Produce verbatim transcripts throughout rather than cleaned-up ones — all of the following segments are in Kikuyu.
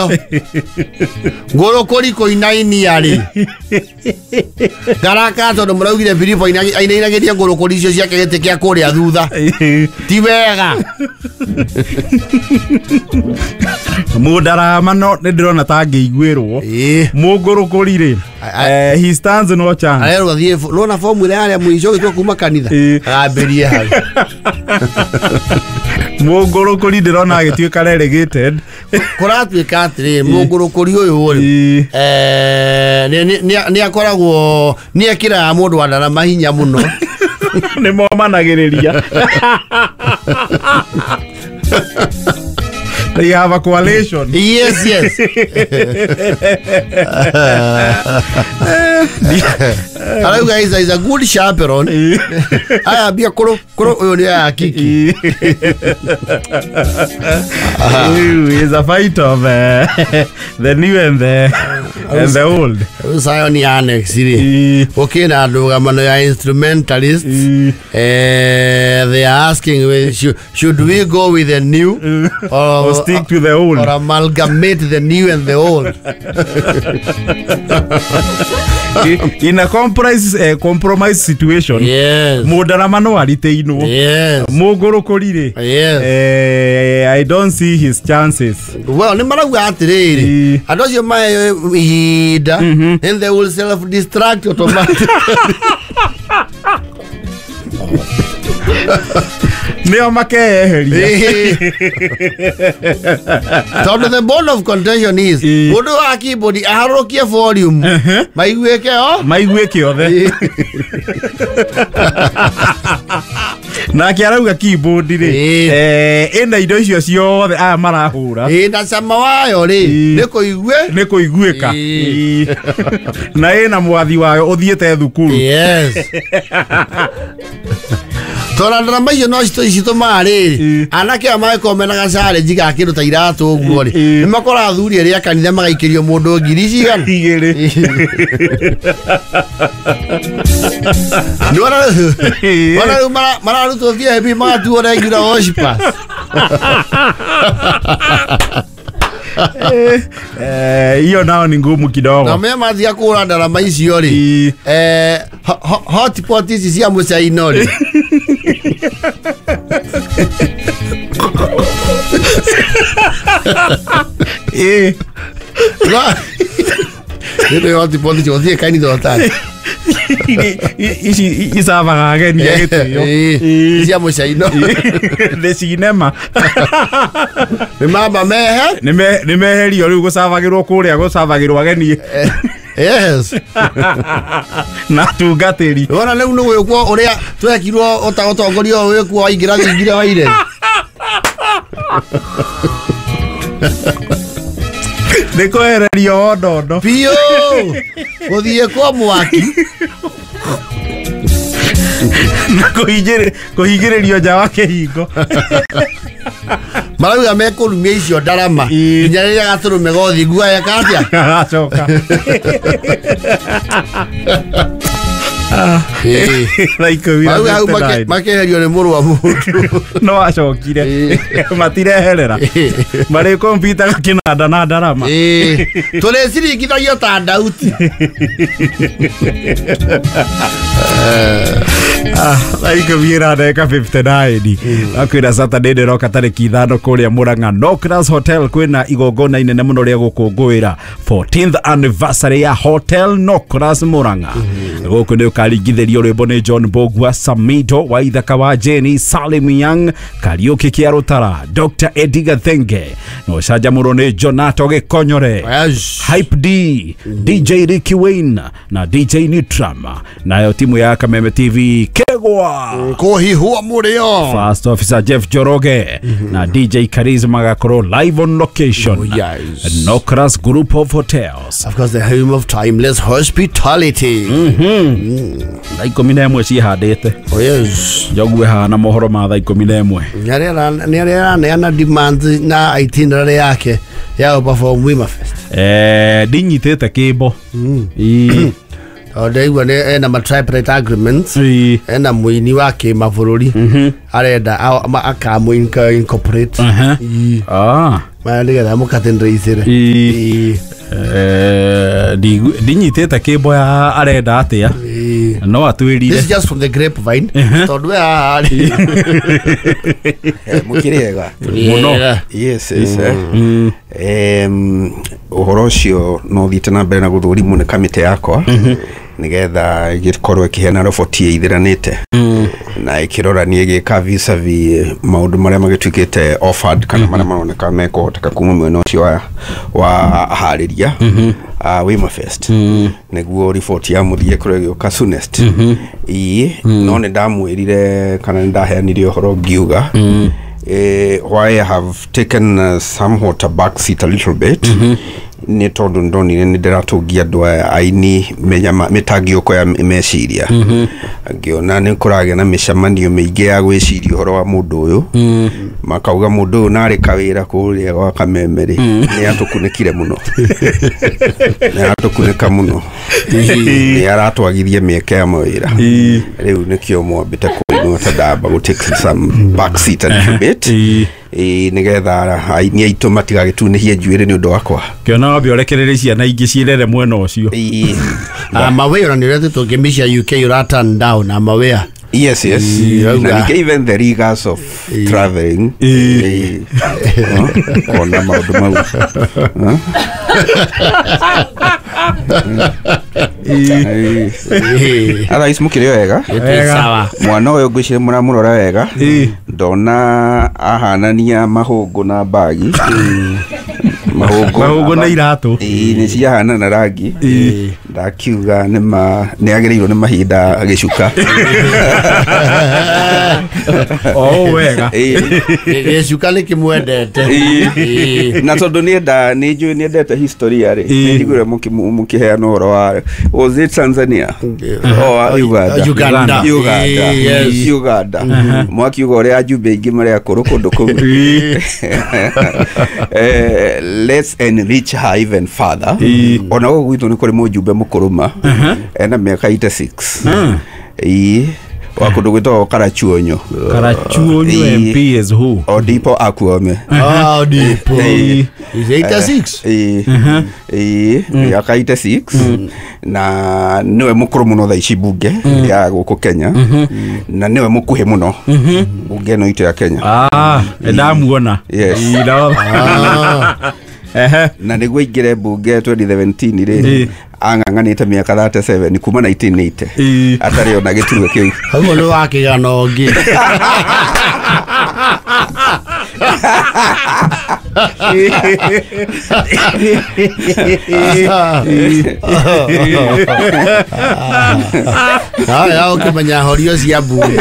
ĩyo ngũrũkũri kũinainia rĩ ngaraka tondũ mũraugire Filipo ainainagĩria ngũrũkũri icio ciake gĩtĩ kĩa kũrĩa thutha ti wega. Mũndarama no nĩ ndĩrona ta angĩiguĩrwo mũngũrũkũri rĩ he stands no chance. Arerwo athiĩ nona fomu ĩrĩa yarĩa mũico gĩtua kuma kanitha agambĩrie hau. Mũngũrũkũri ndĩrona agĩtuĩka relegated. Kũratuĩka atĩrĩrĩ mũngũrũkũri ũyũ rĩ nĩ akoragwo nĩ ekĩraga mũndũ wa ndarama hinya mũno. Nĩ momanagĩrĩria. They have a coalition. Yes, yes. Hello guys, is a good chaperone. I be a kuro kuro uyo kiki. Is a fight of uh, the new and the and the old. Zion Annex iri. Okay na ndũgamano ya instrumentalists. Eh, they are asking should, should we go with the new or, or stick to the old or amalgamate the new and the old? In a compromise uh, compromise situation. Yes. Mũndarama no ariteirwo. Yes. Mũngũrũkũri rĩ. Yes. Eh, I don't see his chances. Well, nĩ marauga atĩrĩrĩ andũ acio maheo ihinda and they will self destruct automatically. Nĩo makeeheria. Tondũ the bone of contention is mũndũ wa keyboard aharũrũkie volume maiguĩke o maiguĩke othe. Nake arauga keyboard rĩ eh ĩna indo icio ciothe aya marahũra ĩ na cama wayo rĩ nĩ kũigue nĩ kũiguĩka na ĩna mwathi wayo ũthiĩte thukuru. Yes. Tora ndarama icio no citũmaga rĩrĩ anake aya magĩkorwo mena gacharage ga kĩndũ ta iratũ ũguo rĩ nĩ makoraga athuri erĩ a kanitha magaikĩrio mũndũ ngiri cigana igĩrĩ. Nĩwona rĩu mararutwo V I P magatuo regular worshipers. Hiyo nao ni ngumu kidogo. Na mema mathiaga kũgũra ndarama icio rĩ eh hotpot ici cia mũcaino rĩ eh nĩ hotpot icio ũthiĩ kanitha ũtarĩ ici icavaga ageni a gĩtĩo cia mũcaino nĩ cinema nĩ mamba mehe nĩ meherio rĩu gũcabagĩrwo kũrĩa gũcabagĩrwo ageni. Yes. Na tungatĩri wona rĩu nĩ gwĩkwo ũrĩa twekirwo ũtongoria ũyũ wĩkwo waingĩra thingira wa ire nĩ kwehererio ondondo biũ gũthiĩ kwa mwaki na kũhingĩrĩrio nja wa kĩhingo. Marauga mekũrumia icio ndarama nginya rĩrĩa gatũrũme gothiĩ guoya katia gagacoka. Marauga hau makeherio nĩ mũrũ wa mũndũ no acokire matireherera marĩ kompyuta kĩnanda na ndarama tũrĩciringithagio ta ndauti. Thaa ikũmi na ndagĩka fifty nine akwĩra Saturday ndĩroka tarĩki ithano kũrĩa Murang'a Nocras Hotel kwĩna igongona inene mũno rĩa gũkũngũĩra fourteenth anniversary ya Hotel Nocras Murang'a. Gũkũ nĩ ũkaringithĩrio rwĩmbo nĩ John Bogwa, Samido wa Ithaka wa Jenny, Salim Young, Kariũki Kĩa Rũtara, Doctor Eddie Gathenge na ũcanjamũrwo nĩ Jonato Gĩkonyore, Hype D, D J Ricky Wayne na D J Nutram, nayo timu ya Kameme T V Kegwa Kũhihwo mũrĩo, First Officer Jeff Njoroge na D J Charisma gakorwo live on location. Oh, yes. Nocras Group of Hotels, of course, the home of timeless hospitality. Mm-hmm. Thaa ikũmi na ĩmwe ciĩhandĩte. Oh, yes. Njogue hana mohoro ma thaa ikũmi na ĩmwe. Nĩ araneana demand na itinerary yake ya perform Wima Fest. Eh, ndinyitĩte kĩmbo. Mm. Ndaigua nĩ ena ma tripartite agreements ena mũini wa kĩmabũrũri arenda akamũ incorporate. Ah. Maya nĩgetha mũkatĩndraicĩre. Ĩĩ. Eh, ndinyitĩte kĩmbo ya arenda atĩa no atwĩrire. This is just from the grapevine. Tondũ we haha rĩ. Mũkĩrĩ ega? Mũno. Yes, yes, eh. Em, ũhoro ũcio no ũthiĩte na mbere na gũthũrimwo nĩ kamĩtĩ yakwa nĩgetha ĩgĩkorwo ĩkĩheana roboti ĩithĩranĩte na ĩkĩrorania ĩgĩka vis-a-vis maũndũ marĩa magĩtuĩkĩte offered kana marĩa maroneka mekũhoteka kuma mwena ũcio wa, wa aharĩria uh, Wema Fest, nĩguo riboti ya mũthia ĩkorwo ĩgĩũka soonest. Ĩĩ, no nĩ ndamwĩrire kana nĩ ndaheanire ũhoro ngiuga eh, why I have taken uh, somewhat a back seat a little bit nĩ tondũ ndonire nĩ ndĩratũngia andũ aya aini mĩnyama- mĩtangiũko ya meciria, ngĩona nĩ kũragĩa na mĩcemanio mĩingĩ ya gwĩciria ũhoro wa mũndũ ũyũ, makauga mũndũ ũyũ narĩ kawĩra kũrĩa gwa Kameme rĩ, nĩ atũkunĩkire mũno, nĩ aratũkunĩka mũno, nĩ aratwagithia mĩeke ya mawĩra. Rĩu nĩkĩo mwambĩte kũinwo ta ndamba gũ take some back seat a little bit. Ĩĩ. Ĩĩ, nĩgetha aini aitũ matigagĩtunĩhie njuĩrĩ nĩ ũndũ wakwa. Kĩona wambe ũrekererie ciana ingĩ ciĩrere mwena ũcio. Ĩĩ. I'm aware ona nĩ ũretĩtwo ngĩmicia U K ũra turn down. I'm aware. Yes, yes. Ĩĩ, Na auga. ningĩ even the rigors of traveling. Ĩĩ. No, kona maũndũ mau. Huh? Ĩĩ. Ĩĩ. Otherwise mũkĩrĩ wega? Ĩtĩ sawa. Mwana ũyũ ngwĩciria mũramũrora wega. Ĩĩ. Ndona ahanania mahũngũ na mbagi, mahũngũ. Mahũngũ na iratũ. Ĩĩ, nĩ ciahanana rangi. Ndakiuga nĩ ma nĩ agĩrĩirwo nĩ mahinda agĩcuka. O ũũ wega. Ĩĩ. Gĩcuka nĩ kĩmwendete. Ĩĩ. Na tondũ nienda nĩ njũĩ nĩendete historia rĩ, Ĩĩ. nĩ njiguire mũkĩheana ũhoro wa, was it Tanzania or Uganda? Uganda. Uganda. Ĩĩ, yes. Uganda, mwakiuga ũrĩa ajumbe aingĩ marĩ akũrũ kũndũ kũu. Eh, let's enrich her even further. Ona gũkũ gwitũ nĩ kũrĩ mũjumbe mũkũrũ ma ena mĩaka eighty-six, ĩĩ, wa kũndũ gwĩtagwo Karachuonyo. Karachuonyo. Ĩĩ. M P is who? Odipo Akuome. Oh, Dipo. Ĩĩ. He's eighty-six. Ĩĩ, ĩĩ, mĩaka eighty-six, na nĩwe mũkũrũ mũno thaa ici mbunge ya gũkũ Kenya, na nĩwe mũkuhĩ mũno mbunge ĩno itũ ya Kenya. Ah, ndamuona. Yes. Ĩĩ, no. Ehe. Na nĩguo aingĩre mbunge twenty seventeen rĩ, Ĩĩ. ang'ang'anĩte mĩaka thirty-seven kuma nineteen eighty Ĩĩ. atarĩ ona gĩturwa kĩu. Hau nĩ wa kĩgano ũngĩ. Haya, ũkĩmenya horio cia mbunge.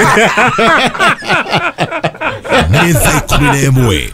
Nĩ thaa ikũmi na ĩmwe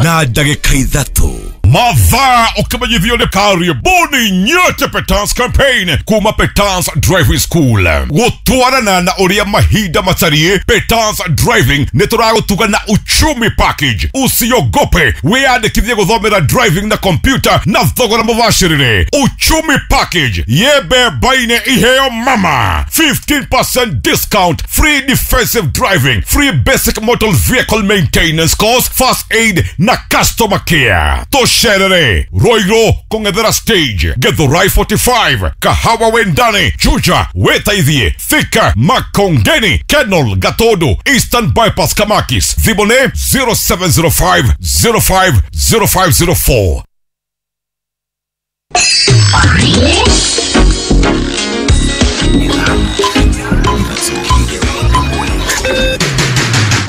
na ndagĩka ithatũ mathaa ũkĩmenyithio nĩ karibuni nyote Petans campaign kuma Petans Driving School gũtwarana na ũrĩa mahinda matariĩ. Petans Driving nĩ tũragũtuga na uchumi package. Usiogope, wĩyandĩkithie gũthomera driving na computer na thogora mũbacĩrĩre. Uchumi package yebembaine iheo mama fifteen percent discount, free defensive driving, free basic motor vehicle maintenance course, first aid na customer care. Tosherere Roiro, kũng'ethera stage, Githurai forty-five, Kahawa Wendani, Juja, Wetaithie, Thika, Makongeni, Kenol, Gatodo, Eastern Bypass, Kamakis. Thimũ nĩ zero seven zero five zero five zero five zero four.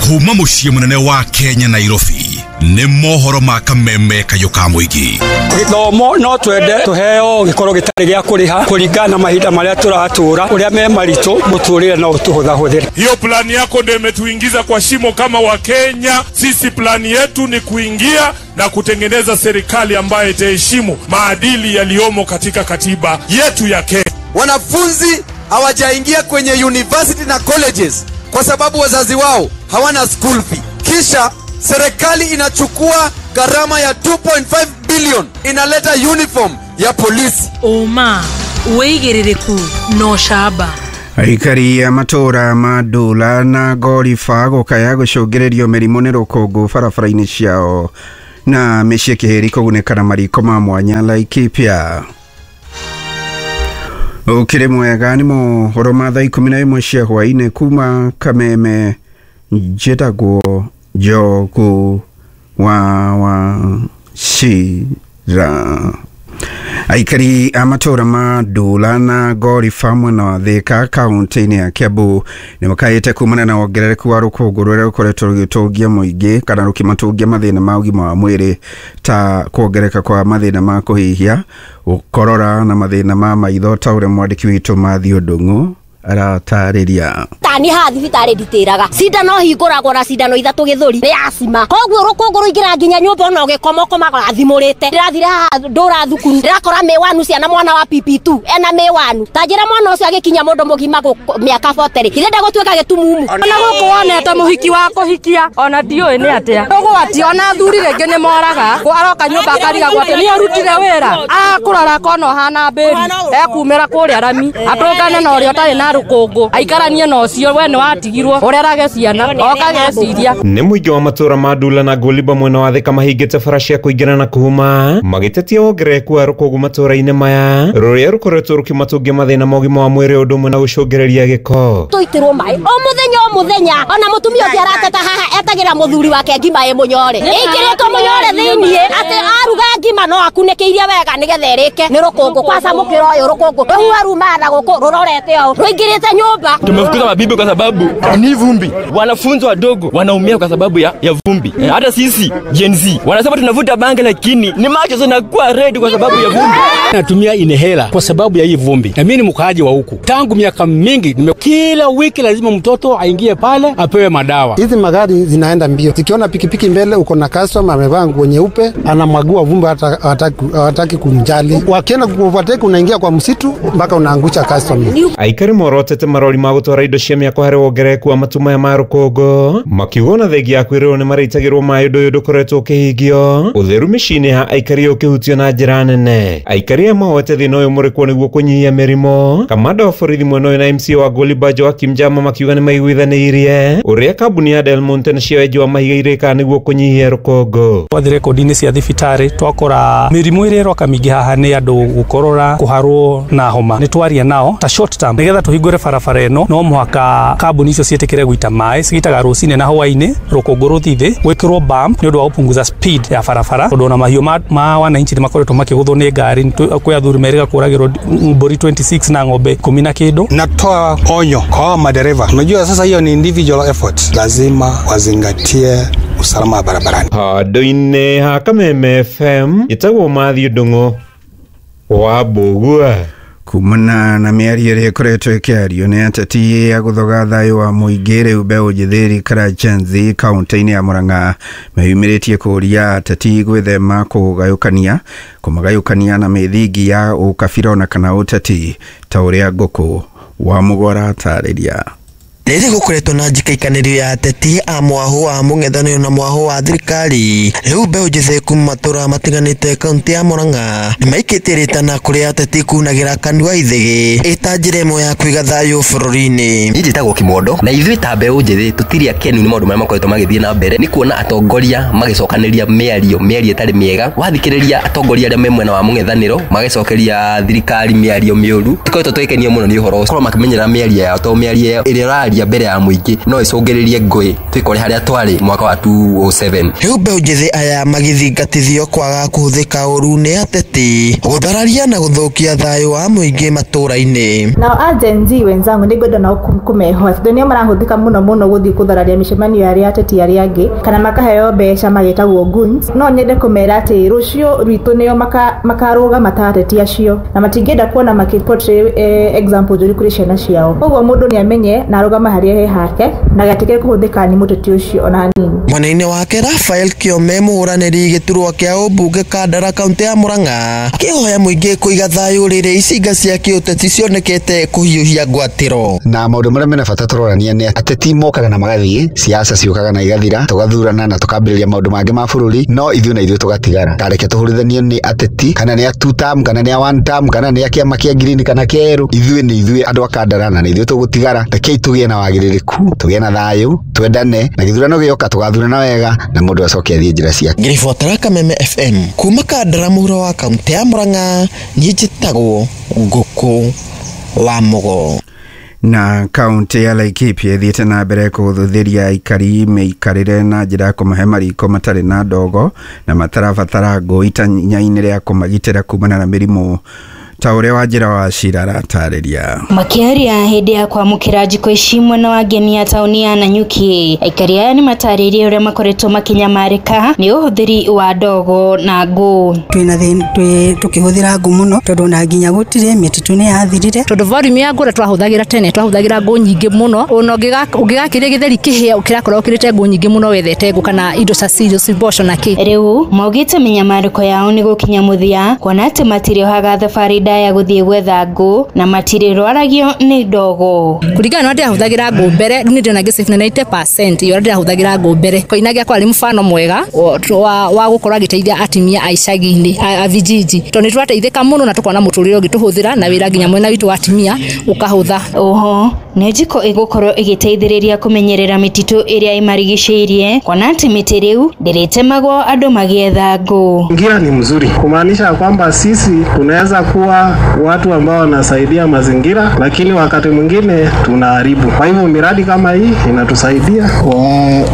Kuma mũciĩ mũnene wa Kenya, Nairobi, nĩ mohoro ma kameme kayũ ka mũingĩ. Gĩthomo no twende tũheo gĩkorwo gĩtarĩ gĩa kũrĩha kũringana na mahinda marĩa tũratũra ũrĩa me maritũ mũtũrĩre no ũtũhũthahũthĩre. Hiyo plani yako ndio imetuingiza kwa shimo kama Wakenya. Sisi plani yetu ni kuingia na kutengeneza serikali ambayo itaheshimu maadili yaliyomo katika katiba yetu ya Kenya. Wanafunzi hawajaingia kwenye university na colleges kwa sababu wazazi wao hawana school fee. Kisha serikali inachukua gharama ya two point five billion inaleta uniform ya polisi. Ũma wĩigĩrĩrĩku na ũcamba. Aikari a matũra ma Ndũla na Ngoriba gũkaya gũcũngĩrĩrio mĩrimũ nĩ rũkũngũ barabara-inĩ ciao. Na mĩciĩ kĩhĩri kũgunĩka na mariko ma mwanya Laikipia. Ũkĩrĩ mwega nĩ mohoro ma thaa ikũmi na ĩmwe cia hwaĩ-inĩ kuma Kameme. Njĩtagwo Njogu wa Wachira. Aikari a matũra ma Ndũla na Ngoriba mwena wa Thika kaunti-inĩ ya Kiambu nĩ makaĩte kumana na wongerereku wa rũkũngũ rũrĩa rũkoretwo rũgĩtũngia mũingĩ kana rũkĩmatũngia mathĩna ma ũgima wa mwĩrĩ ta kuongereka kwa mathĩna ma kũhihia, gũkorora na mathĩna ma maitho ta ũrĩa mwandĩki witũ Matthew Ndung'u aratarĩria. Tani ha thibitarĩ nditĩraga cindano hingũragwo na cindano ithatũ gĩthũri nĩ acima koguo rũkũngũ rũingĩra nginya nyũmba ona ũgĩkoma ũkomaga athimũrĩte. Ndĩrathire haha ndũra thukuru ndĩrakora mĩwanu ciana mwana wa P P two ena mĩwanu ta njĩra mwana ũcio agĩkinya mũndũ mũgima mĩaka forty rĩ ithe ndagũtuĩka gĩtumumu. Ona gũkũ wonete mũhiki wa kũhikia ona ndiũĩ nĩ atĩa ũgwati ona athuri rĩngĩ nĩ moraga aroka nyũmba akarigagwo atĩ nĩ arutire wĩra akũrora akona ũhana mbĩri ekumĩra kũrĩa rami atũngane na ũrĩa ũtarĩ na rũkũngũ aikaranie na ũcio we nĩ watigirwo ũrerage ciana okageciria. Nĩ mũingĩ wa matũra ma Ndula na Ngoliba mwena wa Thika mahingĩte bara cia kũingĩra na kuuma magĩtetia wongerereku wa rũkũngũ matũra-inĩ maya rũrĩa rũkoretwo rũkĩmatũngia mathĩna ma ũgima wa mwĩrĩ ũndũ ũmwe na gũcũngĩrĩria gĩko. Tũitĩrwo maĩ o mũthenya o mũthenya ona mũtumia ũngĩ arateta haha etagĩra mũthuri wake ngima ĩ mũnyore ĩingĩrĩtwo mũnyore thĩiniĩ atĩ aruga ngima no akunĩkĩirie wega nĩgetha ĩrĩke nĩ rũkũngũ kwaca mũkĩra ũyũ rũkũngũ rũhuha rumaga na gũkũ rũrorete ũũ rũingĩrĩte nyũmba. Tumefukuza mabibi kwa sababu ni vumbi. Wanafunzi wadogo wanaumia kwa sababu ya, ya vumbi. Hata sisi Gen Z wanasema tunavuta bangi lakini ni macho zinakuwa red kwa sababu ya vumbi. Natumia inhaler kwa sababu ya hii vumbi. Na mimi ni mkaaji wa huku. Tangu miaka mingi nime, kila wiki lazima mtoto aingie pale apewe madawa. Hizi magari zinaenda mbio. Zikiona pikipiki mbele uko na customer amevaa nguo nyeupe anamwagua vumbi hata hataki kumjali. Wakienda kuovertake unaingia kwa msitu mpaka unaangusha customer. Aikari morotete marori ma gũtwara indo cia mĩako harĩ wongerereku wa matu maya ma rũkũngũ makiuga ona thengia ya kwĩrĩrwo nĩ marĩitagĩrwo maĩ ũndũ ũyũ ndũkoretwo ũkĩhingio ũtheru mĩciĩ-inĩ ya aikari ũkĩhutio na njĩra nene. Aikari aya mahoete thĩna ũyũ mũrĩkwo nĩguo kũnyihia mĩrimũ. Kamanda wa borithi mwena ũyũ na M C wa Ngoliba Joakim Njama makiuga nĩ maiguithanĩirie ũrĩa kambuni ya Del Monte na cia wenji wa mahiga irĩkaga nĩguo kũnyihia rũkũngũ. Twathi rekondi-inĩ cia thibitarĩ twakora mĩrimũ ĩrĩa ĩroka mĩingĩ haha nĩ andũ gũkorora, kũharwo na homa. Nĩ twaria nao ta short term nĩgetha tũhingũre barabara ĩno no mũhaka kambuni icio ciĩtĩkĩre gũita maĩ cigitaga rũcinĩ na hwaĩ-inĩ rũkũngũ rũthiĩ thĩ gwĩkĩrwo bump nĩ ũndũ wa gũpunguza speed ya barabara tondũ ona mahiũ ma, ma wananchi nĩ makoretwo makĩgũthwo nĩ ngari kwĩ athuri merĩga kũragĩrwo mbũri twenty-six na ng'ombe ikũmi na kĩndũ. Natoa onyo kwa madereva, unajua sasa hiyo ni individual effort, lazima wazingatie usalama wa barabarani. Handũ-inĩ ha Kameme F M ĩtagwo Matthew Ndung'u wa Mbũgua. Kumana na mĩario ĩrĩa ĩkoretwo ĩkĩario nĩ ateti a gũthoga thayũ wa mũingĩ rĩu mbeũ njĩthĩ rika Gen Z kaunti-inĩ ya Murang'a meyumĩrĩtie kũũria ateti gwĩthema kũgayũkania kũmagayũkania na mĩthingi ya ũkabira ona kana ũteti ta ũrĩa Ngũkũ wa Mũgwara atarĩria. Rĩrĩ gũkoretwo na njikaikanĩrio ya ateti a mwahũ wa mũng'ethanĩro na mwahũ wa thirikari rĩu mbeũ njĩthĩ kuma matũra matiganĩte kaunti ya Murang'a nĩmaikĩtie rĩtana kũrĩ ateti kunagĩra kanua ithĩgĩ ĩta njĩra ĩmwe ya kũiga thayũ bũrũri-inĩ. Niĩ njĩtagwo Kimondo na ithuĩ ta mbeũ njĩthĩ tũtirĩ akenu nĩ maũndũ marĩa makoretwo magĩthiĩ na mbere nĩ kuona atongoria magĩcokanĩria mĩario mĩario ĩtarĩ mĩega wathikĩrĩria atongoria arĩa me mwena wa mũng'ethanĩro magĩcokeria thirikari mĩario mĩũru tũkoretwo tũgĩkenio mũno nĩ ũhoro ũcio korwo makĩmenyerera mĩario yao tondũ mĩario ĩrĩa ĩraria mbere ya mũingĩ no ĩcũngĩrĩrie ngũĩ twĩkore harĩa twarĩ mwaka wa two oh seven. Rĩu mbeũ njĩthĩ aya magĩthingatithio kwaga kũhũthĩka ũru nĩ ateti gũthararia na gũthũkia thayũ wa mũingĩ matũra-inĩ. Nao a Gen Z wenzangu nĩ ngwenda nao kũmehoa tondũ nĩo marahũthĩka mũno mũno gũthiĩ kũthararia mĩcemanio ya arĩa ateti arĩa angĩ kana makaheo mbeca magĩtagwo goons. No nyende kũmera atĩ rũciũ rwitũ nĩo makarũgama ta ateti acio na matingĩenda kuona makĩ portray example njũru kũrĩ ciana ciao. Koguo mũndũ nĩ amenye na arũgama harĩa he hake na gatikĩre kũhũthĩka nĩ mũteti ũcio ona hanini. Mwena-inĩ wake Rafael Kĩome mũhũranĩri gĩturwa kĩa ũmbunge Kandara kaunti ya Murang'a akĩhoya mũingĩ kũiga thayũ rĩrĩa icinga cia kĩũteti cionekete kũhiũhia ngwatĩro. Na maũndũ marĩa mena bata tũrorania nĩ ateti mokaga na magathiĩ, siasa ciũkaga na igathira, tũgathurana na tũkambĩrĩria maũndũ mangĩ ma bũrũri, no ithuĩ na ithuĩ tũgatigara. Tareke tũhũrithanio nĩ ateti kana nĩ a two term kana nĩ a one term kana nĩ a kĩama kĩa green kana kĩa yerũ, ithuĩ nĩ ithuĩ andũ a Kandara na nĩ ithuĩ tũgũtigara. Rekei tũgĩe na na wagĩrĩrĩku, tũgĩe na thayũ, twendane, na gĩthurano gĩoka tũgathurana wega na mũndũ acoke athiĩ njĩra ciake. Ngĩribotera Kameme F M kuma Kandara mũhuro wa kaunti ya Murang'a, niĩ njĩtagwo Ngũkũ wa Mũgo. Na kaunti ya Laikipia ĩthiĩte na mbere kũhũthĩria aikari mĩikarĩre na njĩra ya kũmahe mariko matarĩ na ndogo na matarabatara ngũ itanya-inĩ rĩa kũmagitĩra kumana na mĩrimũ ta ũrĩa Wanjĩra wa Cira aratarĩria. Makĩaria hĩndĩ ya kwamũkĩra njiko ici mwena wa Ngenia taũni ya Nanyuki, aikari aya nĩmatarĩirie ũrĩa makoretwo makĩnyamarĩka nĩ ũhũthĩri wa ndogo na ngũ. Twĩna thĩna tũkĩhũthĩra ngũ mũno tondũ na nginya gũtirĩ mĩtitũ nĩ yathirire, tondũ volume ya ngũ ũrĩa twahũthagĩra tene twahũthagĩra ngũ nyingĩ mũno, ona ũngĩgakĩria gĩtheri kĩhĩa kĩrakorwo ũkĩrĩte ngũ nyingĩ mũno wethete ngũ kana indo ta cereals, mboco na kĩ. Rĩu maugĩte mĩnyamarĩko yao nĩ gũkinya mũthia kuona atĩ matirĩohaga thabarĩ ndaya gũthiĩ gwetha ngũ na matirĩrwaragio nĩ ndogo. Kũringana na ũrĩa ndĩrahũthagĩra ngũ mbere, rĩu nĩ ndĩrona ngĩsave na ninety percent ya ũrĩa ndĩrahũthagĩra ngũ mbere. Koinange akwa arĩ mfano mwega wa, wa gũkorwo agĩteithia atumia a icagi-inĩ a vijiji, tondũ nĩ tũrateithĩka mũno na tũkona mũtũrĩre ũngĩtũhũthĩra na wĩra nginya mwena witũ wa atumia ũkahũtha. Oho nĩ njiko ĩgũkorwo ĩgĩteithĩrĩria kũmenyerera mĩtitũ ĩrĩa ĩmarigicĩirie kuona atĩ mĩtĩ rĩu ndĩrĩtemagwo andũ magĩetha ngũ. Ngira ni mzuri kumaanisha kwamba sisi tunaweza kuwa watu ambao wanasaidia mazingira, lakini wakati mwingine tunaharibu. Kwa hivyo miradi kama hii inatusaidia,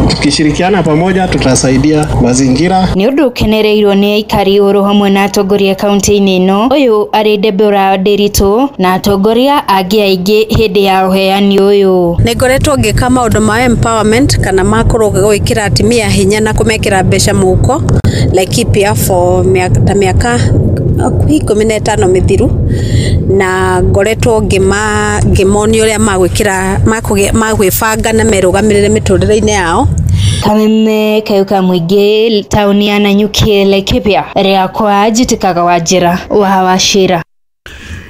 tukishirikiana pamoja tutasaidia mazingira. Nĩ ũndũ ũkenereirwo nĩ aikari oro hamwe na atongoria kaunti-inĩ ĩno, ũyũ arĩ Deborah Ndiritu na atongoria angĩ aingĩ hĩndĩ ya ũheani ũyũ. Nĩ ngoretwo ngĩka maũndũ ma empowerment kana ma gwĩkĩra atumia hinya na kũmekĩra mbeca mũhuko Laikipia for ta mĩaka ikũmi na ĩtano mĩthiru, na ngoretwo ngĩma ngĩmonia ũrĩa magwĩkĩra magwĩbanga na merũgamĩrĩre mĩtũrĩre-inĩ yao. Kameme Kayuka Mũingĩ, taũni ya Nanyuki, Laikipia, rĩakwa njĩtĩkaga Wanjĩra wa Wachira.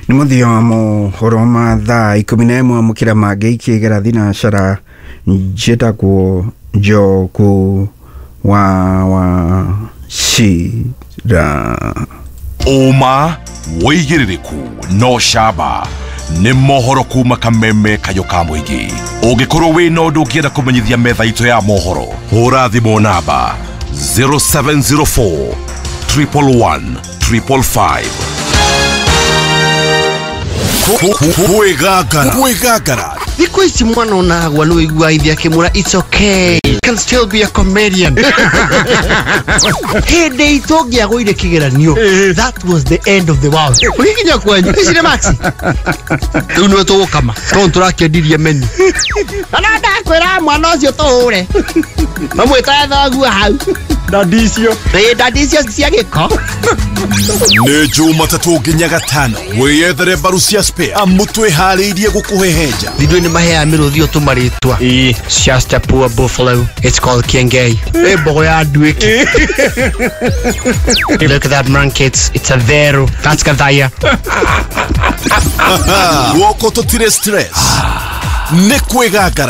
Nĩ mũthia wa mohoro ma thaa ikũmi na ĩmwe amũkĩra mangĩ ikĩgera thinacara njĩtagwo Njoku wa Wachira. Ũma wĩigĩrĩrĩku no camba nĩ mohoro kuma Kameme Kayũ ka Mũingĩ. Ũngĩkorwo wĩna ũndũ ũngĩenda kũmenyithia metha itũ ya mohoro, hũra thimũ namba zero seven zero four triple one triple five. Kwĩgangara kwĩgangara thikũ ici mwana onagwa nĩ ũigua ithe akĩmwĩra it's okay, you can still be a comedian. Hĩndĩ itũ ũngĩagũire kĩgeranio, that was the end of the world. Ũgĩkinya kwanyu ici nĩ maxi rĩu nĩwe tũgũkama tondũ tũrakĩendirie menu na no ndakwĩra mwana ũcio tũhũre mamwĩtaga thoguo hau Ndadicio ĩ ndadicio cia gĩko. Nĩ Jumatatũ nginya Gatano wĩyethere mbaru cia spare amu twĩharĩirie gũkũhehenja. Ithuĩ nĩ maheaga mĩrũthi ũtũmarĩtwa. It's just a poor buffalo, it's called Kiengei. Ĩ mbogo ya nduĩki. Look at that man kids, it's a vero, that's Gathaya. Guoko tũtirĩ stress nĩ kwĩgangara.